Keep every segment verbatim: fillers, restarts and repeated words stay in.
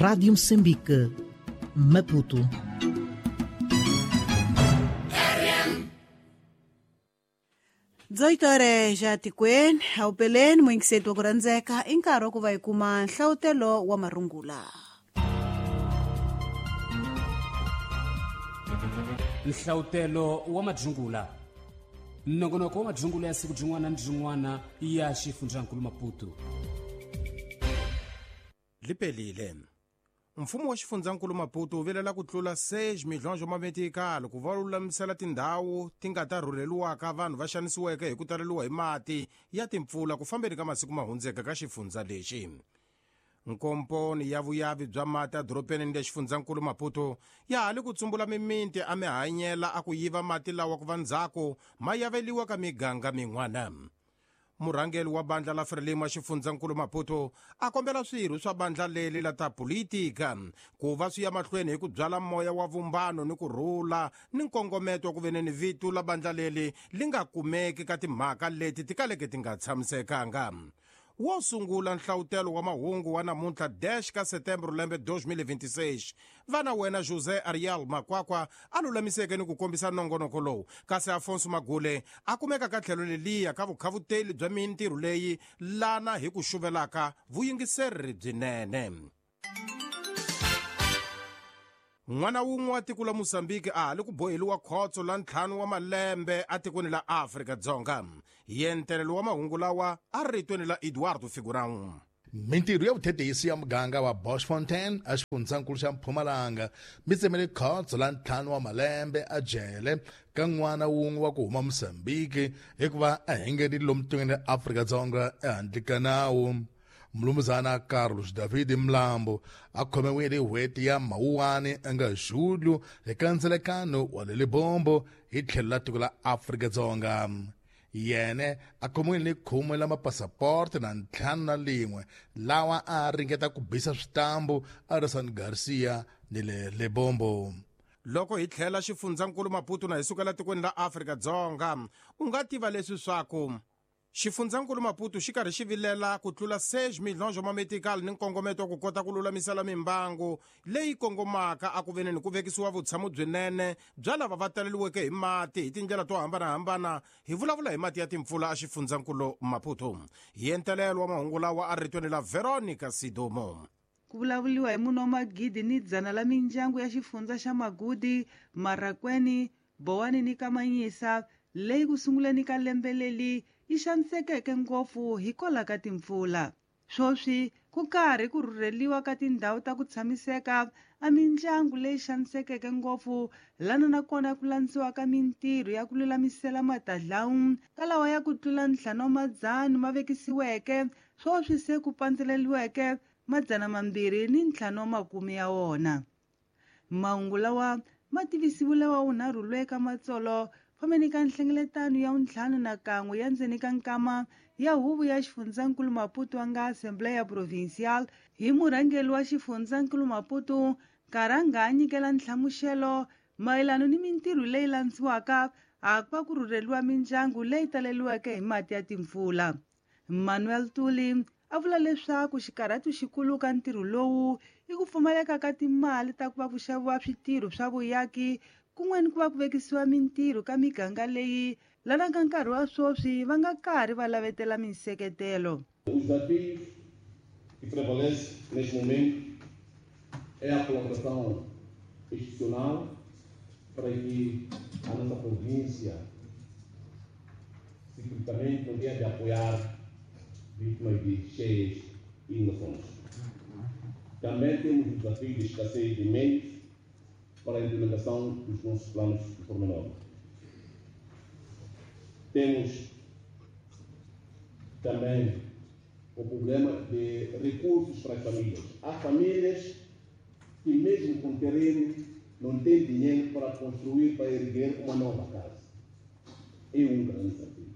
Rádio Moçambique, Maputo. dezoito horas já tikweni awupeleni muyingiseti wa ku rhandzeka i nkarhi wa ku va hi kuma nhlawutelo wa marungula. Nhlawutelo wa madzungula, nongonoko wa madzungula ya siku byin'wana ni byin'wana ya xifundzankulu Maputo. Lipelile. Mfumo wa xifundzankulu Maputo wu vilela ku tlula seis milhões wa mametikali ku va lulamisela tindhawu ti nga ta rhurheliwaka vanhu va xanisiweke hi ku taleliwa hi mati ya timpfula ku fambeni ka masiku ma hundzeke ka xifundza lexi. Nkomponi ya vuyavi bya mati edorobeni ni le xifundzankulu Maputo ya ha li ku tsumbula miminti a mihanyela a ku yiva mati lawa ku va ndzhaku ma yaveliwa ka miganga min'wana. Murhangeri wa bandla la Frelimo xifundzankulu Maputo a kombela swirho swa bandla leri la ta politika ku va swi ya mahlweni hi ku byala moya wa vumbano ni ku rhula ni nkongometo wa ku veneni vito la bandla leri li nga kumeki ka timhaka leti ti kaleke ti nga tshamisekanga. Wo sungula nhlawutelo wa mahungu wa namuntlha dez ka setembro lembe dois mil e vinte e seis. Vana wena José Ariel Makwakwa a lulamiseke ni ku kombisa nongonoko lowu, kasi Afonso Magule a kumeka ka tlhelo leliya ka vukhavuteli bya mintirho leyi lana hi ku xuvelaka vuyingiseri byinene. N'wana wun'we wa tiko la Mozambique a ha li ku boheliwa khotso la ntlhanu wa malembe atikweni la Afrika-Dzonga. Yentelelo wa mahungu lawa a ritweni la Eduardo Figurão. Mintirho ya vuthetisi ya muganga wa Boschfontein a xifundzankulu xa Mpumalanga mi tsemele khotso la ntlhanu wa malembe a jele ka n'wana wun'we wa ku huma Mozambique hikuva a hengerile lomu tikweni ra Afrika-Dzonga ehandle ka nawu. Mlumuzana Carlos David Mlambo a khomiwile hi n'hweti ya Mawuwani nga Julho hi kandzhelekano wa le Lebombo hi tlhelo la tiko la Afrika-Dzonga. Yene a khomiwile ni khume la mapasaporte na ntlhanu na lin'we lawa a ringeta ku bisa switambu a ri San Garcia ni le Lebombo. Loko hi tlhela xifundzankulu Maputo na hi sukela tikweni la Afrika-Dzonga, u nga tiva leswi swaku xifundzankulu Maputo xi karhi xi vilela ku tlula seis milhões wa mametikali ni nkongometo wa ku kota ku lulamisela mimbangu leyi kongomaka a ku veneni ku vekisiwa vutshamo byinene bya lava va taleliweke hi mati hi tindlela to hambanahambana. Hi vulavula hi mati ya timpfula a xifundzankulu Maputo. Hi entelelo wa mahungu lawa a ritweni la Veronica Sidomo. Ku vulavuriwa hi munhu wa magidi ni dzana la mindyangu ya xifundza xa Magudi, Marakweni, Bowani ni Kamanyisa leyi ku sunguleni ka lembe leri yi xanisekeke ngopfu hikwalaho ka timpfula. Sweswi ku karhi ku rhurheliwa ka tindhawu ta ku tshamiseka a mindyangu leyi xanisekeke ngopfu lana nakona ku landziwa ka mintirho ya ku lulamisela matadlawu ka lawa ya ku tlula ntlhanu wa madzana ma vekisiweke sweswi se ku pandzeleliweke madzana mambirhi ni ntlhanu wa makume ya wona. Mahungu lawa ma tivisiwile wa wunharhu lwe ka matsolo fambeni ka nhlengeletano ya wuntlhanu na kan'we ya ndzeni ka nkama ya huvo ya xifundzankulu Maputo wa nga Assembleia Provincial hi murhangeri wa xifundzankulu Maputo nkarhi a nga nyikela nhlamuxelo mayelana ni mintirho leyi landziwaka a ku va ku rhurheliwa mindyangu leyi taleliweke hi mati ya timpfula. Manuel Tuli a vula leswaku xikarhatu xikulu ka ntirho lowu i ku pfumaleka ka timali ta ku va ku xaviwa switirho swa vuyaki kun'we ni ku va ku vekisiwa mintirho ka miganga leyi lana ka nkarhi wa sweswi va nga karhi va lavetela minseketelo. O desafio que prevalece neste momento é a colaboração institucional para que a nossa província ciclicamente não tenha de apoiar vítimas de cheias e inundações. Também temos o desafio de escassez de meios para a implementação dos nossos planos de pormenor. Temos também o problema de recursos para as famílias. Há famílias que, mesmo com terreno, não têm dinheiro para construir, para erguer uma nova casa. É um grande desafio.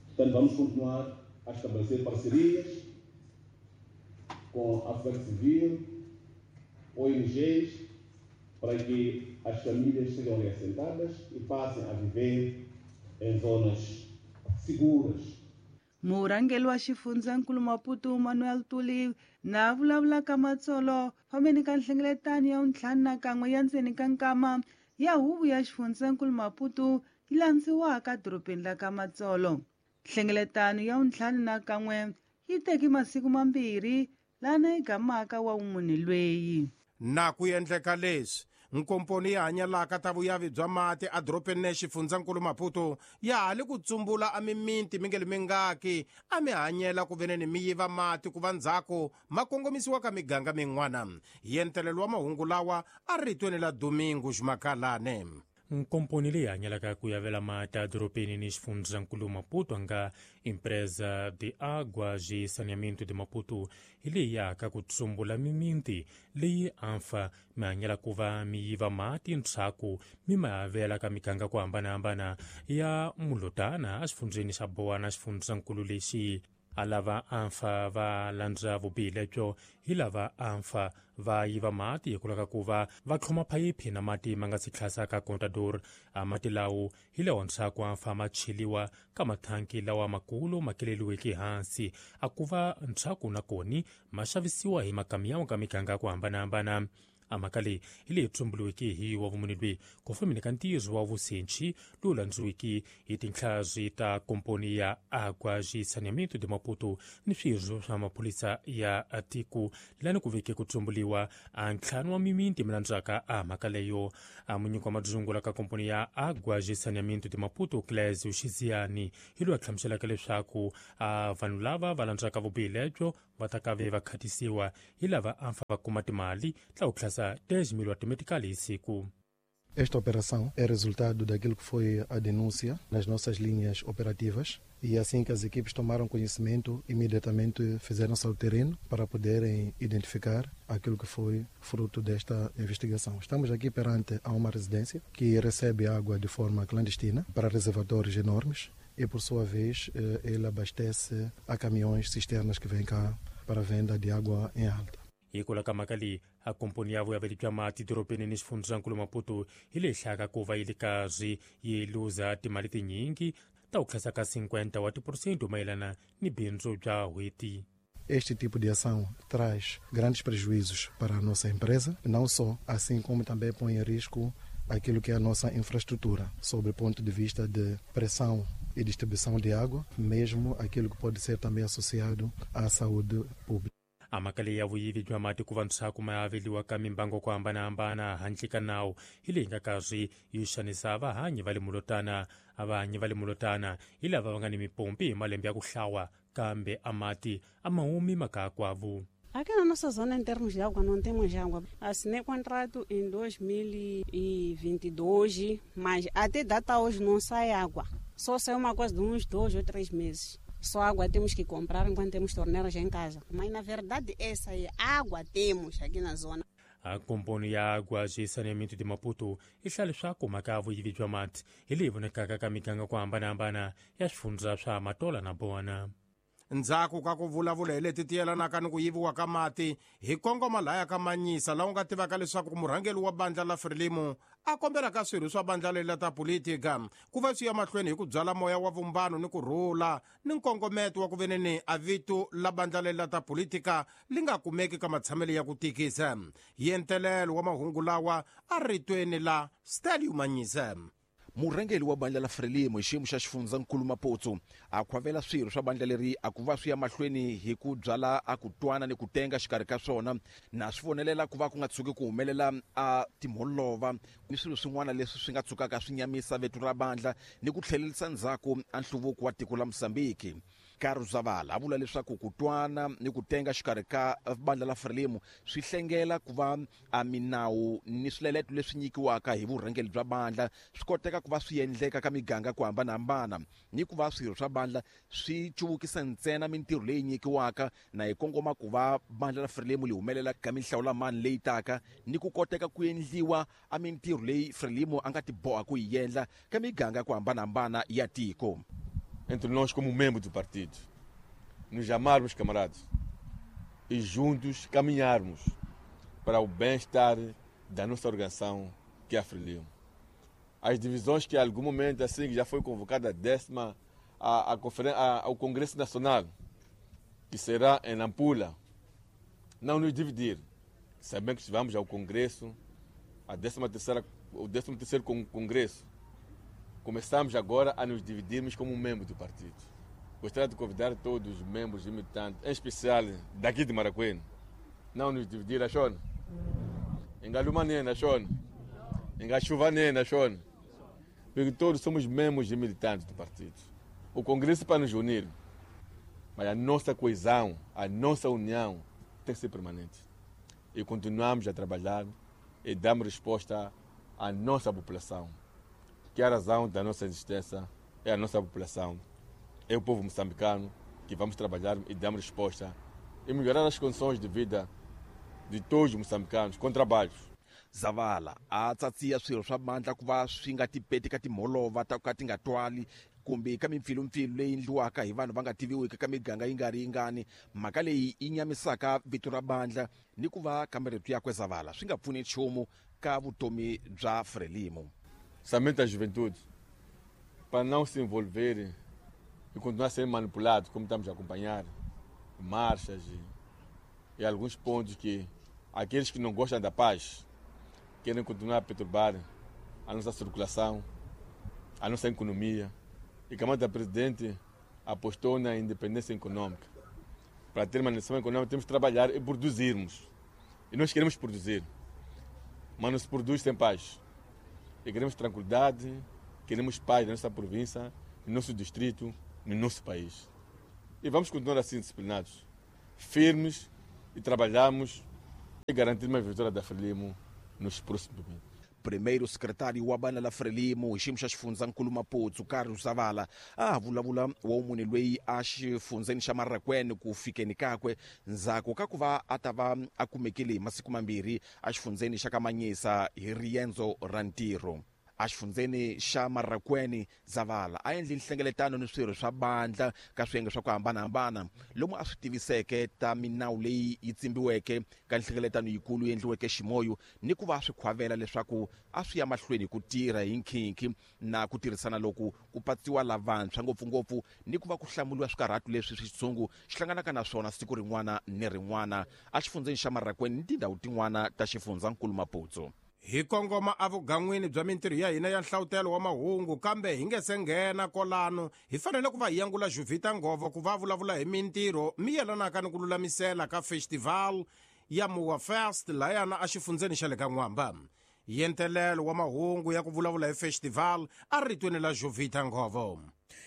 Portanto, vamos continuar a estabelecer parcerias com a sociedade civil, O N Gs, para que as famílias sejam reassentadas e passem a viver em zonas seguras. Murhangeri wa xifundzankulu Maputo Manuel Tuli na vulavula ka Matsolo fambeni ka nhlengeletano ya ntlhanu na kan'we ya ndzeni ka nkama ya huvo ya xifundzankulu Maputo yi landziwaka dorobeni la ka Matsolo. Nhlengeletano ya ntlhanu na kan'we yi teke masiku mambirhi lana yi gamaka wa munhu lweyi. Na ku endleka leswi nkomponi ya hanyalaka ta vuyavi bya mati edorobeni ne xifundzankulu Maputo ya ha li ku tsumbula a miminti mi nge li mingaki a mi hanyela ku veneni mi yiva mati ku va ndzhaku ma kongomisiwa ka miganga min'wana. Yentelelo wa mahungu lawa a ritweni la Domingo Ximakalane. Nkomponi leyi hanyalaka ku yavela mati edorobeni ni xifundzankulu Maputo a nga Empresa de Água de Saneamento de Maputo hi leyi yaka ku tsumbula miminti leyi amfa mi hanyela ku va mi yiva mati ntshaku mi ma yavela ka miganga ku hambanahambana ya Mulotana exifundzeni xa Bowana xifundzankulu lexi. A lava amfa va landza vubihi lebyo hi lava amfa va yiva mati hikwalaho ka ku va va tlhoma phayiphi na mati ma nga si tlhasa ka contador. A mati lawo hi lawa ntshaku amfa ma cheliwa ka mathanki lawa makulu ma keleliweke hansi a ku va ntshaku na koni ma xavisiwa hi makamiyawu ka miganga ku hambanahambana. A mhaka leyi hi leyi tsumbuluweke hi wa vumune lweyi ku fambeni ka ntirho wa vusenchi lowu landziweke hi tinhlazi ta komponi ya Água de Saneamento de Maputo ni swirho swa maphorisa ya tiko lani ku veke ku tsumbuliwa a ntlhanu wa miminti mi landzaka a mhaka leyo. A munyiki wa madzungula ka komponi ya Água de Saneamento de Maputo Clésio Xiziani hi loyi a hlamuselaka leswaku a vanhu lava va landzaka vubihi lebyo va ta ka ve va khatisiwa hi lava amfa va kuma timali ta ku tlhasa dez mil automatically hi siku. Esta operação é resultado daquilo que foi a denúncia nas nossas linhas operativas e assim que as equipes tomaram conhecimento, imediatamente fizeram-se ao terreno para poderem identificar aquilo que foi fruto desta investigação. Estamos aqui perante a uma residência que recebe água de forma clandestina para reservatórios enormes e, por sua vez, ele abastece a caminhões cisternas que vêm cá para a venda de água em alta. Hikwalaho ka mhaka leyi a komponi ya vuyaveli bya mati dorobeni ni xifundzankulu Maputo hi leyi hlayaka ku va yi le karhi yi luza timali tinyingi ta ku tlhasa ka cinquenta wa tiphurosente mayelana ni bindzu bya n'hweti. Este tipo de ação traz grandes prejuízos para a nossa empresa, não só, assim como também põe em risco aquilo que é a nossa infraestrutura, sob o ponto de vista de pressão e distribuição de água, mesmo aquilo que pode ser também associado à saúde pública. A mhaka leyi ya vuyivi bya mati ku va ntshaku ma aveliwa ka mimbango ku hambanahambana handle ka nawu hi leyi nga karhi yi xanisa vahanyi va le Mulotana. A vahanyi va le Mulotana hi lava va nga ni mipompi hi malembe ya ku hlawa kambe a mati a ma humi maka kwavu. Aqui na nossa zona, em termos de água, não temos água. Assinei contrato em dois mil e vinte e dois, mas até data hoje não sai água. Só sai uma coisa de uns dois ou três meses. Só água temos que comprar enquanto temos torneiras em casa. Mas, na verdade, essa aí, água temos aqui na zona. A komponi ya Água de Saneamento de Maputo yi hlaya leswaku mhaka ya vuyivi bya mati hi leyi vonekaka ka miganga ku hambanahambana ya swifundza swa Matola na Bowana. Ndzhaku ka ku vulavula hi leti ti yelanaka ni ku yiviwa ka mati hi kongoma laya ka Manyisa laha u nga tivaka leswaku murhangeri wa bandla la Frelimo a kombela ka swirho swa bandla leri ta politika ku va swi ya mahlweni hi ku byala moya wa vumbano ni ku rhula ni nkongometo wa ku veneni a vito la bandla leri ta politika li nga kumeki ka matshamelo ya ku tikisa. Yentelelo wa mahungu lawa a ritweni la Stelio Manyisa. Murhangeri wa bandla la Frelimo hi xiyimo xa xifundzankulu Maputo a khwavela swirho swa bandla leri a ku va swi ya mahlweni hi ku byala a ku twana ni ku tenga xikarhi ka swona na swi vonelela ku va ku nga tshuki ku humelela a timholova ni swilo swin'wana leswi swi nga tshukaka swi nyamisa veto ra bandla ni ku tlhelerisa ndzhaku a nhluvuko wa tiko la Mozambique. Carlos Zavala a vula leswaku ku twana ni ku tenga xikarhi ka bandla la Frelimo swi hlengela ku va a minawu ni swileleto leswi nyikiwaka hi vurhangeri bya bandla swi koteka ku va swi endleka ka miganga ku hambanahambana ni ku va swirho swa bandla swi cuvukisa ntsena mintirho leyi nyikiwaka na hi kongoma ku va bandla la Frelimo li humelela ka minhlawulamani leyi taka ni ku koteka ku endliwa a mintirho leyi Frelimo a nga ti boha ku yi endla ka miganga ku hambanahambana ya tiko. Entre nós como membros do partido, nos amarmos, camaradas, e juntos caminharmos para o bem-estar da nossa organização, que é a Frelimo. As divisões que em algum momento, assim que já foi convocada a décima à, à conferência, ao Congresso Nacional, que será em Nampula, não nos dividir. Sabemos que vamos ao Congresso, a décima terceira, o décimo terceiro Congresso. Começamos agora a nos dividirmos como membros do partido. Gostaria de convidar todos os membros e militantes, em especial daqui de Marracuene, não nos dividir, achou? Engalumanena, achou? Engachuvanena, achou? Porque todos somos membros e militantes do partido. O Congresso é para nos unir, mas a nossa coesão, a nossa união tem que ser permanente. E continuamos a trabalhar e damos resposta à nossa população, que é a razão da nossa existência, é a nossa população, é o povo moçambicano, que vamos trabalhar e damos resposta e melhorar as condições de vida de todos os moçambicanos com trabalhos. Zavala a tsatsiya swirho swa bandla ku va swi nga tipeti ka timholova ta ku ka ti nga twali kumbe ka mimpfilumpfilu leyi endliwaka hi vanhu va nga tiviwiki ka miganga yi nga ri yingani. Mhaka leyi yi nyamisaka vito ra bandla ni ku va ka marito yakwe Zavala swi nga pfuni nchumu ka vutomi bya Frelimo. Somente a juventude, para não se envolver e continuar a ser manipulado, como estamos a acompanhar, marchas e, e alguns pontos que aqueles que não gostam da paz querem continuar a perturbar a nossa circulação, a nossa economia. E que a mão da presidente apostou na independência econômica. Para ter uma nação econômica temos que trabalhar e produzirmos. E nós queremos produzir, mas não se produz sem paz. E queremos tranquilidade, queremos paz na nossa província, no nosso distrito, no nosso país. E vamos continuar assim disciplinados, firmes, e trabalhamos e garantir uma vitória da Frelimo nos próximos momentos. Primeiro secretário wa bana la Frelimo hi xiyimo xa xifundzankulu Maputo Carlos Zavala a vulavula wa munhu loyi a xifundzeni xa Marracuene ku fikeni kakwe ndzhaku ka ku va a ta va a kumekile hi masiku mambirhi a xifundzeni xa Kamanyisa hi riendzo ra ntirho. A xifundzeni xa Marracuene Zavala a endli nhlengeletano ni swirho swa bandla ka swiyenge swa ku hambanahambana lomu a swi tiviseke ta minawu leyi yi tsimbiweke ka nhlengeletano yikulu yi endliweke ximoyo ni ku va swi khwavela leswaku a swi ya mahlweni ku tirha hi nkhinkhi na ku tirhisana loku ku patsiwa lavantshwa ngopfungopfu ni ku va ku hlamuriwa swikarhatu leswi switshungu xi hlanganaka na swona siku rin'wana ni rin'wana a xifundzeni xa Marracuene ni tindhawu tin'wana ta xifundzankulu Maputo. Hi kongoma evugan'wini bya mintirho ya hina ya nhlavutelo wa mahungu, kambe hi nge se nghena kolano hi fanele ku va hi yangula Juvita Ngovo ku va vulavula hi mintirho mi yelanaka ni ku lulamisela ka festival ya Moa Fest layana exifundzeni xa le ka N'wamba. Yentelelo wa mahungu ya ku vulavula hi festival a ritweni la Juvita Ngovo.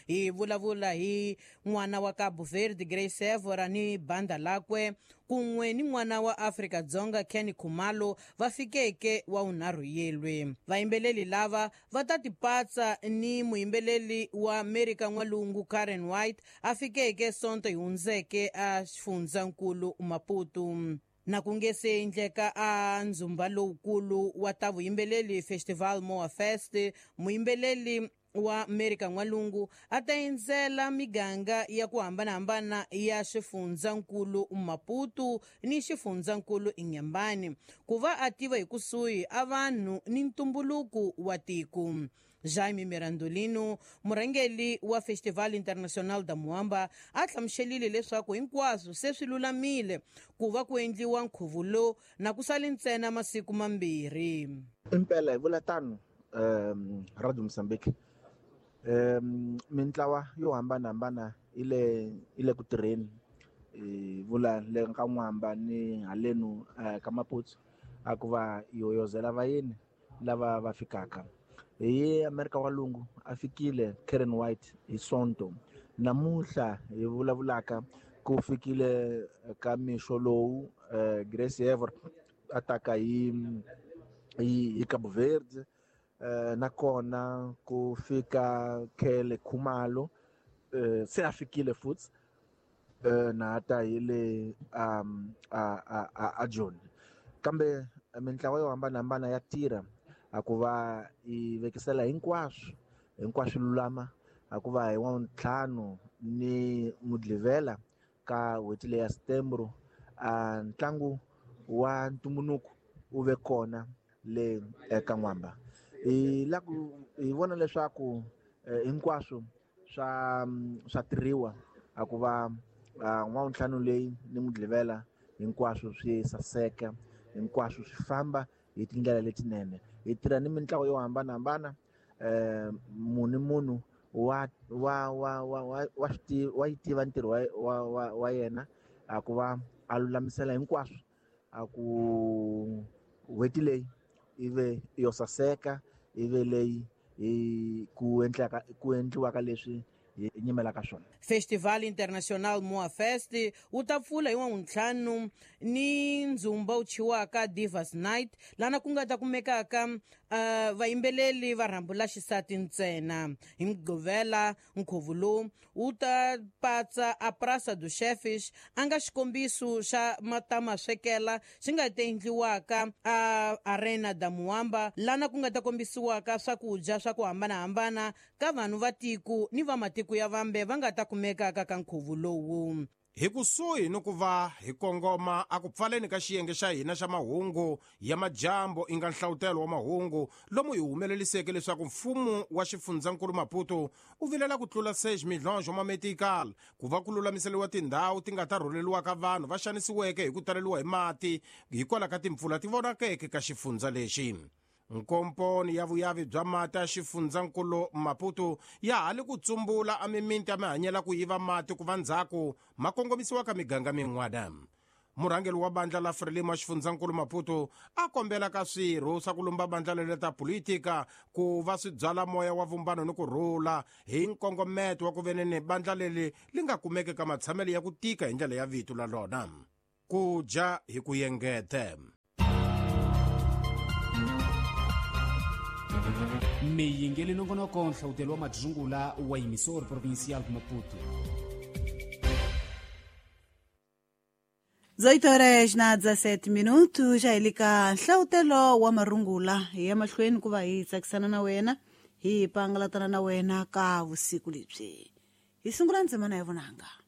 Hi vulavula hi n'wana wa Cabo Verde Grace Evora ni banda lakwe kun'we ni n'wana wa Afrika Dzonga Kenny Khumalo va fikeke wa unharhu yelwe. Vayimbeleli lava va ta tipatsa ni muyimbeleli wa Amerika N'walungu Karen White a fikeke Sonto hi hundzeke a xifundzankulu Maputo. Na ku nge se endleka a ndzumba lowukulu wa ta vuyimbeleli Festival Moa Fest, muyimbeleli wa Amerika N'walungu a ta endzela miganga ya ku hambanahambana ya xifundzankulu Maputo ni xifundzankulu Inhambane ku va a tiva hi kusuhi a vanhu ni ntumbuluko wa tiko. Jaime Mirandolino, murhangeri wa Festival Internacional da Moamba, a hlamuselile leswaku hinkwaswo se swi lulamile ku va ku endliwa nkhuvo lowu na ku sale ntsena masiku mambirhi. Impela hi vula tano um Radio Mozambique um mintlawa yo hambanahambana yi le yi le ku tirheni, hi vula le ka N'wamba ni halenu ka Maputo a ku va yi hoyozela vayeni lava va fikaka. Hi Amerika N'walungu a fikile Karen White hi Sonto. Namuntlha hi vulavulaka ku fikile ka mixo lowu Grace Evora a taka hi hi Cabo Verde, nakona ku fika Kele Khumalo se a fikile futhi na ta hi le a a a Joni. Kambe mintlawa yo hambanahambana ya tirha a ku va yi vekisela hinkwaswo hinkwaswo lulama a ku va hi wa ntlhanu ni Mudlivela ka n'hweti leya Setembro a ntlangu wa ntumbuluko wu ve kona le eka N'wamba. Hi la ku hi vona leswaku hinkwaswo swa swa tirhiwa a ku va n'wawuntlhanu leyi ni Mugqivela hinkwaswo swi saseka, hinkwaswo swi famba hi tindlela letinene. Hi tirha ni mintlawa yo hambanahambana, um munhu ni munhu wa wa wa wa wa wa swi wa yi tiva ntirho wa wa wa wa yena a ku va a lulamisela hinkwaswo a ku n'hweti leyi ive yo saseka, ive leyi hi ku endlaka ku endliwaka leswi hi nyimelaka swona. Festival International Moa Fest wu ta pfula hi wavuntlhanu ni ndzumba wu thyiwaka Divas Night, lana ku nga ta kumekaka uh, vayimbeleli va rhambu la xisati ntsena. Hi Mugqivela nkhuvo lowu wu ta patsa a Praça dos Chefes, a nga xikombiso xa matamaswekela xi nga ta endliwaka a Arena da Muamba, lana ku nga ta kombisiwaka swakudya swa ku hambanahambana ka vanhu va tiko ni va matiko ya vambe va nga ta kumekaka ka nkhuvo lowu. Hi kusuhi ni ku va hi kongoma a ku pfaleni ka xiyenge xa hina xa mahungu ya majambo i nga nhlawutelo wa mahungu lomu hi humeleliseke leswaku mfumo wa xifundzankulu Maputo u vilela ku tlula seis milhões wa mametikal ku va ku lulamiseriwa tindhawu ti nga ta rhuleriwaka vanhu va xanisiweke hi ku taleriwa hi mati hikwalaho ka timpfula ti vonakeke ka xifundza lexi. Nkomponi ya vuyavi bya mati ya xifundzankulu Maputo ya ha li ku tsumbula a mimiti ya mihanyela ku yiva mati ku va ndzhaku ma kongomisiwa ka miganga min'wana. Murhangeri wa bandla la Frelimo xifundzankulu Maputo a kombela ka swirho swa ku lumba bandla lele ta politika ku va swi byala moya wa vumbano ni ku rhula hi nkongometo wa ku venene bandla leli li nga kumeki ka matshamelo ya ku tika hi ndlela ya vito la lona. Ku dya hi ku yengete. Miyingeli nongonoko nhlawutelo wa madzungula wa emissor provincial de Maputo. dezoito horas na dezessete minutos, já ilika nhlawutelo wa marungula hi ya mahlweni ku va hi tsakisana na wena hi pangalatana na wena ka vusiku lebyi. Hi sungula ndzimana ya vunanga.